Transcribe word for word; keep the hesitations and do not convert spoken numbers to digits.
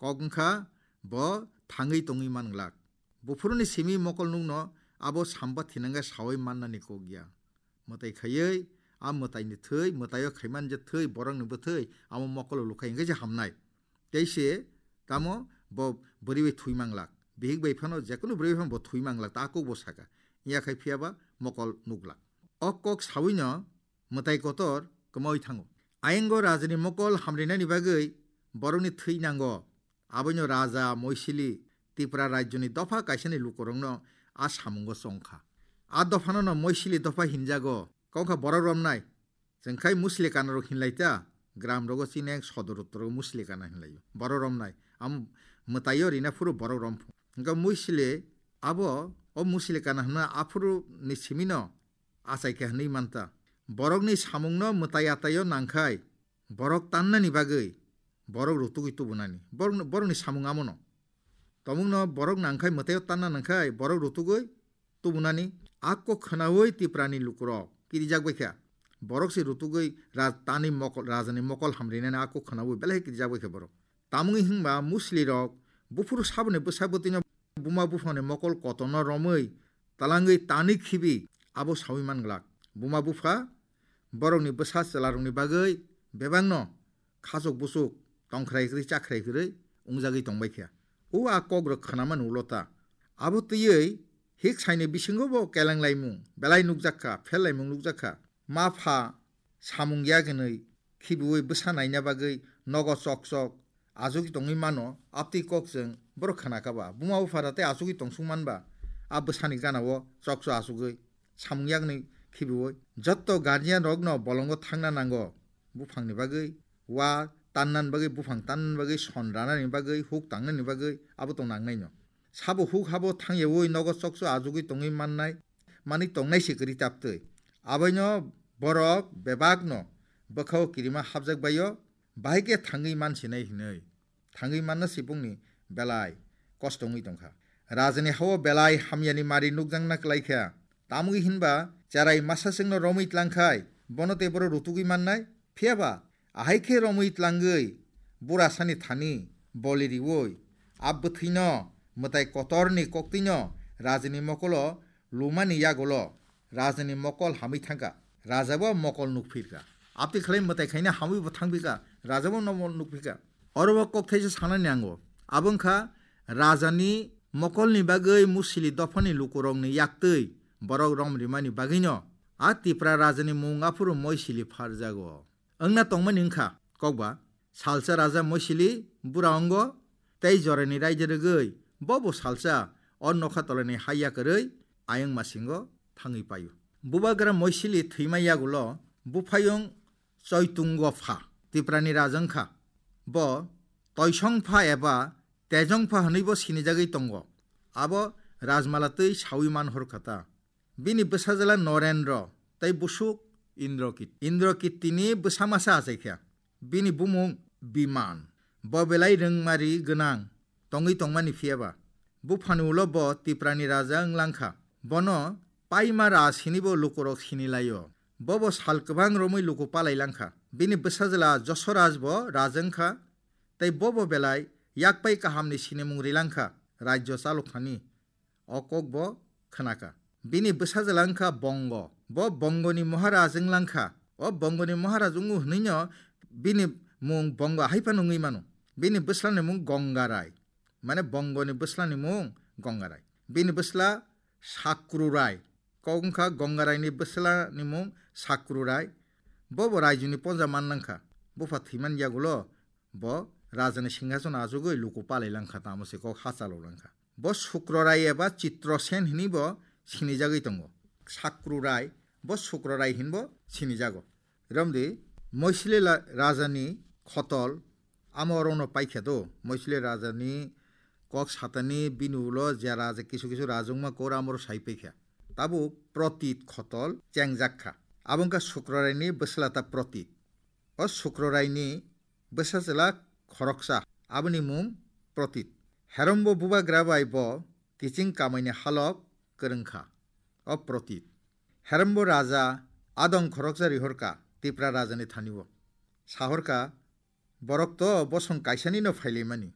Kok wngkha bo thangwi tongwi man glak. Buphuruni simi mokol nukno abo samba thinangkhe sawi mannani kok ya. Mwtai khaiwi, a mwtaini thwi, mwtaio khaiman je thwi, borokni bwthwi, amo mokolo lukhai hwnkhe se hamnai. Tei se tamo bo bwrwi bai thwi manglak. Bihik bai phano, jekunu bwrwi bai phano bo thwi manglak, ta kok bo saka. Iya khai phiya ba mokol nuklak. O kok sawino mwtai kotor kwmawi thango. Ayingo rajani mokol hamrinani bagwi borokni thwi nango. Aboino raja Moisili Tipra rajyoni dopha kaisani lukurokno a samungo chongkha. A dophanono Moisili dopha hinjago. Kok wngkha borok romnai. Chwng khai Musli kanarok hinlai ta, gram rogo chini ang sodor uttor rogo Musli kana hinlaio. Borok romnai. Am mwtaio rina phuru borok rom phu. Hwnkhe Moisili abo o Musli kana hwnma aphuru ni simino achai khe hwnwi manta. Borokni samungno mwtai ataio nangkhai, borok tannani bagwi borok rutugwi tubunani. Borok, borokni samung amono. Tomungno borok nangkhai, mwtaio tanna nangkhai, borok rutugwi tubunani. A kok khwnawi Tiprani lukurok kirijak baikha. Borok se rutugwi ra-, tani mokol, rajani mokol hamrinani a kok khwnawi belai kirijak baikha borok. Tamungwi hwnba Muslirok buphuru saboni bwsa bwtwino buma buphangni mokol kotorno romwi talangwi tani khibi abo sawi man glak. Buma bupha borokni bwsa chwlarokni bagwi bebakno khachuk buchuk tongkhrai kwrwi chakkhrai kwrwi wngjagwi tongbai kha. O a kok rok khwnamani ulo ta. Abo twiwi hik saini bisingo bo kelenglai mung belai nukjak kha, phellaimung nukjak kha. Ma pha samung yak hinwi khibiwi bwsa naina bagwi nogo chok chok achugwi tongwi mano, aptwi kok chwng borok khna kha ba. Buma bupha da tei achugwi tongsuk man ba, a bwsani gana o chok chok achugwi samung yakni khibiwi. Jotto guardian rokno bolongo thangna nango, buphangni bagwi, wa tannan bagwi, buphang tannan bagwi, son ranani bagwi, huk tangnani bagwi, abo tong nangnaino. Sabo huk habo thangyawi nogo chok chok achugwi tongwi mannai, manwi tongnai se kwrwi taptwi. Aboino borok bebakno bwkhao kirima hapjak baio, bahai khe thangwi mansinai hinwi. Thangwi manna se bongni belai kosto wngwi tongkha. Rajani hao belai hamyani mari nukjakna kwlaikha. Tamwi hinba cherai masa chwngno romwi tlangkhai, bono tei boro rutugwi mannai. Phiyaba ahai khe romwi tlangwi burasani thani boli riwi a bwthwino mwtai kotorni koktwino rajani mokolo lumani yagulo rajani mokol hamwi thangkha. Raja bo mokol nukphirkha. Aptwi khlai mwtai khaina hamwi bo thangphikha. Raja bo nomo nukphikha. Oro bo kok thaisa sanani nango. Abo wngkha rajani mokolni bagwi Musili dophani lukurokni yaktwi borok rom rimani bagwino a Tipra rajani mung aphuru Moisili pharjago. Wngna tongmani wngkha kokba, salsa raja Moisili bura ongo tei jorani raida rwgwi bobo salsa o nokha tolani hai yakarwi ayang masingo thangwi paio. Bubagra Moisili thwima yagulo buphayung Choitungo pha Tiprani raja wngkha. Bo Toisong pha eba Tejong pha hwnwibo sinijagwi tongo. Abo rajmala twi sawi man horkha ta. Bini bwsajwla Norendro tei busuk Indrokit-, Indrokittini bwsa masa achaikha. Bini bumung Biman. Bo belai rwngmari gwnang tongwi tongmani phiyaba. Buphani ulo bo Tiprani raja wng langkha. Bono Paima Raj hinibo lukurok sinilaio. Bobo sal kwbang romwi luku palai langkha. Bini bwsajwla Josoraj bo raja wngkha, tei bobo belai yakpai kahamni sinimung rilangkha rajyo chalokthani. O kok bo khnakha. Bini bwsajwla wngkha Bongo. Bo Bongoni Maharaj wng langkha. O Bongoni Maharaj wngo hwnwino bini mung Bongo hai phano wngwi mano. Bini bwslani mung Gongarai. Mane Bongoni bwslani mung Gongarai. Bini bwsla Sakrurai. Kok wngkha Gongaraini bwslani mung Sakrurai. Bobo raijoni ponja man nangkha. Bupha thwiman yagulo bo rajani singhasono achugwi luku palai langkha, tamo se kok ha chalo langkha. Bo Sukrorai eba Chitrosen hini bo sinijagwi tongo. Sakrurai, bo Sukrorai hinbo sinijago. Romdi, Moisili la-, rajani khotol, amo orono paikha do. Moisili rajani kok satani bini ulo je raja kisu kisu rajwngma kor amoro sai paikha. Tabuk Protit khotol chengjak kha. Abo wngkha Sukroraini bwsla ta Protit. O Sukroraini bwsajwla khoroksa, aboni mung Protit. Herombo bubagra bai bo kiching kamaini halok kwrwngkha. O Protit. Herombo raja adong khoroksa rihorka Tipra rajani thani-o. Sahorka, borok to bosong kaisanino phailaimani.